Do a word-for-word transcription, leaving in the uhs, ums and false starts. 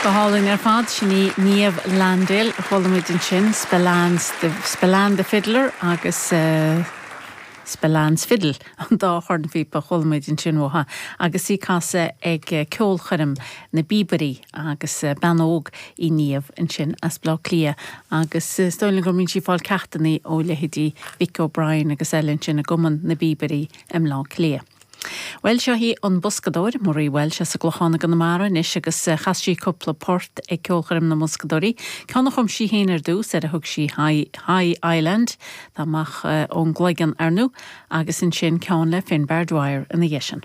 Go hálainn ar fad sin í Niamh Landale a chuala muid ansin Spillane's Spillane the Fiddler agus uh, Spillane's Fiddle an dá chornphíopa chuala muid ansin uaithi agus í ag casadh ag ceolchoirm na bPíobairí agus bean óg í Niamh ansin as Bleá Cliath agus is dóigh go mbíonn sí ag fáil ceachtanna ó leithéidí Vic O'Brien agus eile ansin i gCumann na bPíobairí i mBleá Cliath. Well seo í an boscadóir Marie Walsh as an gClochán i gConamara anois agus chas sí cúpla port ag ceolchoirm na mboscadóirí. Ceann a chum sí féin ar dtús ar a thug sí High, High Island Tá amach ón gcloigeann arnú agus ansin ceann le Finbar Dwyer ina dhiaidh sin.